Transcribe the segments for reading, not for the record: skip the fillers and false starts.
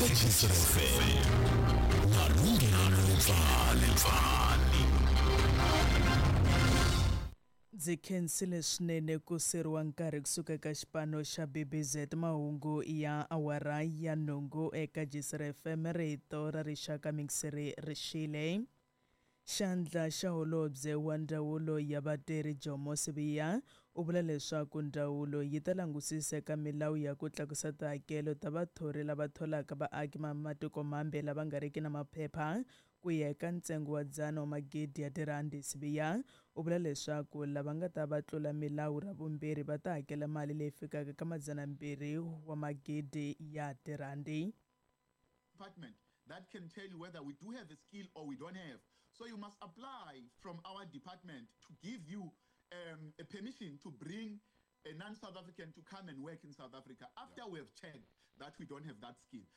Eka Gcina FM na Lunghelo Letsale. Ndzi khensile swinene ku seriwa nkarhi kusuka eka xipano xa BBZ mahungu ya awara ya nhungu eka Gcina FM rito ra rixaka mixere rixile. Xandla xa holobye wa ndzawulo ya vatirhi Jomo Sibiya u vula leswaku ndzawulo yi ta langusisa eka milawu ya ku tlakusa tihakelo ta vathori lava tholaka vaaki va matiko mambe lava nga riki na maphepha ku ya eka ntsengo wa 100 wa magidi ya tirhandi. Sibiya u vula leswaku lava nga ta va tlula milawu ra vumbirhi va ta hakela mali leyi fikaka ka 200 wa magidi ya tirhandi. Department that can tell you whether we do have a skill or we don't have. So you must apply from our department to give you a permission to bring a non-South African to come and work in South Africa after we have checked that we don't have that skill.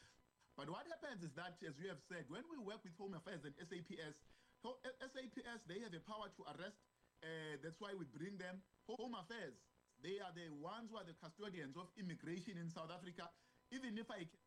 But what happens is that, as you have said, when we work with Home Affairs and SAPS, SAPS, they have a power to arrest. That's why we bring them. Home Affairs, they are the ones who are the custodians of immigration in South Africa. Even if I can...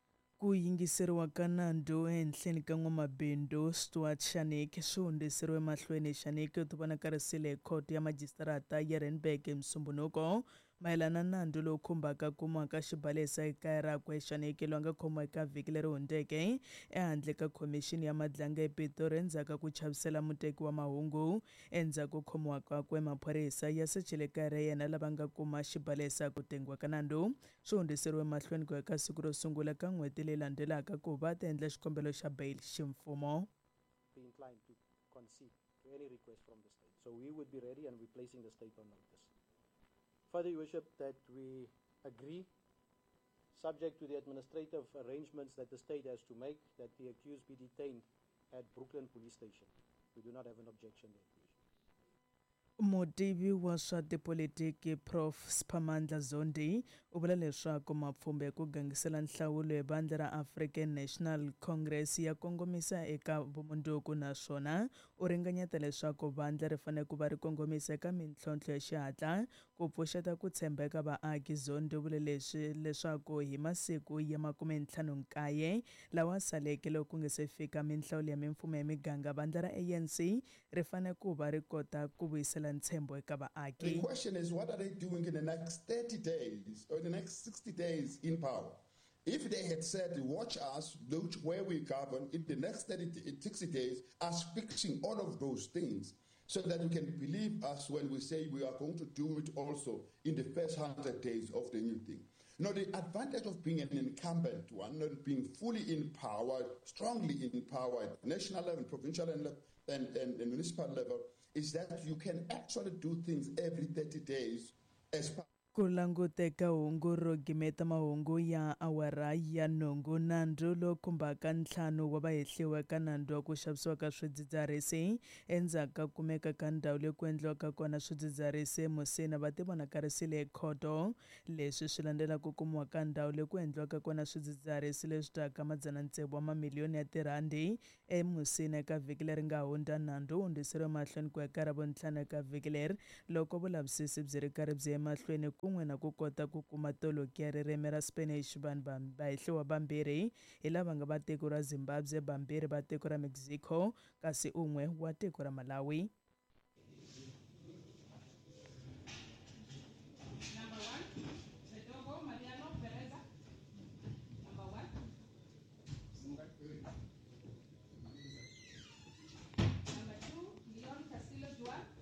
Ku yingiseriwa ka nandzu ehenhleni ka n'wamabindzu Stuart Shanik swi hundziseriwe mahlweni. Shanik u tivonakarisile hi khoto ya majisitarata ya Randburg hi Musumbhunuko mayelana na nandzu lowu khumbaka kumiwa ka xibalesa ekaya rakwe. Shanik loyi a nga khomiwa eka vhiki leri hundzeke ehandle ka khomixini ya madlanga ePitori endzhaku ka ku chavisela muteki wa mahungu. Endzhaku ko khomiwa kakwe, maphorisa ya sechile kaya ra yena lava nga kuma xibalesa. Ku tengiwa ka nandzu swi hundziseriwe mahlweni ku ya ka siku ro sungula ka n'hweti leyi landzelaka ku va ta endla xikombelo xa bail ximfumo. Be inclined to concede to any request from the state. So we would be ready and we're placing the state on notice. Further, Your Worship, that we agree, subject to the administrative arrangements that the state has to make, that the accused be detained at Brooklyn Police Station. We do not have an objection there. Mutivi wa swa tipolitiki Prof Siphamandla Zondi u vula leswaku mapfhumba ya ku gangisela nhlawulo hi vandla ra African National Congress ya kongomisa eka vumundzuku, naswona u ringanyeta leswaku vandla ri fanele ku va ri kongomisa eka mintlhontlho ya xihatla ku pfuxeta ku tshembeka vaaki. Zondi u vule leswi leswaku hi masiku ya 59 lawa saleke loko ku nga se fika minhlawulo ya mimfumo ya miganga, vandla ra ANC ri fanele ku va ri kota ku vuyisela ntshembo eka vaaki. The question is, what are they doing in the next 30 days or the next 60 days in power? If they had said, watch us, look where we govern, in the next 60 days, us fixing all of those things, so that you can believe us when we say we are going to do it also in the first 100 days of the new thing. Now, the advantage of being an incumbent one, not being fully in power, strongly in power at national level, provincial and municipal level, is that you can actually do things every 30 days as part. Ku languteka hungu ro gimeta mahungu ya awara ya nhungu. Nandzu lowu khumbaka 5 wa vahehliwa ka nandzu wa ku xavisiwa ka swidzidziharisi endzhaku ka kumeka ka ndhawu leyi ku endliwaka kona swidzidziharisi eMusina va tivonakarisile ekhoto. Leswi swi landzela ku kumiwa ka ndhawu leyi ku endliwaka kona swidzidziharisi leswi taka 600 wa mamiliyoni ya tirhandi eMusina eka vhiki leri nga hundza. Nandzu wu hundziseriwe mahlweni ku ya ka Ravuntlhanu eka vhiki leri loko vulavisisi byi ri karhi byi ya emahlweni kun'we na ku kota ku kuma toloki ya ririmi ra Spanish. Vanhu vahehliwa vambirhi hi lava nga va tiko ra Zimbabwe, vambirhi va tiko ra Mexico, kasi un'we wa tiko ra Malawi. Number 1, Bedogo Mariano Pereza. Number 1. Number 2, Leon Castillo Duarte.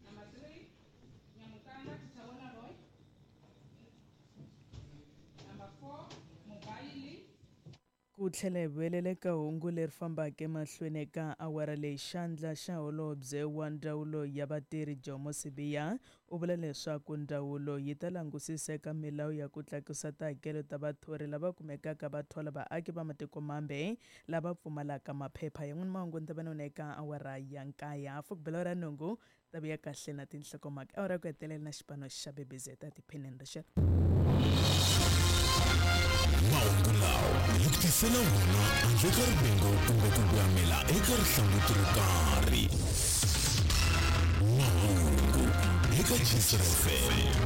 Number 3, Nyamukanda Tichaona Roy. Number 4, Mubaili. Ku tlhela hi vuyelela eka hungu leri fambaka emahlweni eka awara leyi, xandla xa holobye wa ndzawulo ya vatirhi Jomo Sibiya u vula leswaku ndzawulo yi ta langusisa eka milawu ya ku tlakusa tihakelo ta vathori lava kumekaka va thola vaaki va matiko mambe lava pfumalaka maphepha. Yan'wana mahungu ni ta va na wona eka awara ya 9 hafu ku bela ra nhungu ta vuya kahle na tinhlokomhaka. Awara ya ku hetelela na xipano xa BBZ ta tiphineni rixaka. Mahungu lawa hi ku tisela wona handle ka rivengo kumbe ku voyamela eka rihlanguti ro karhi. Mahungu eka Gcina FM.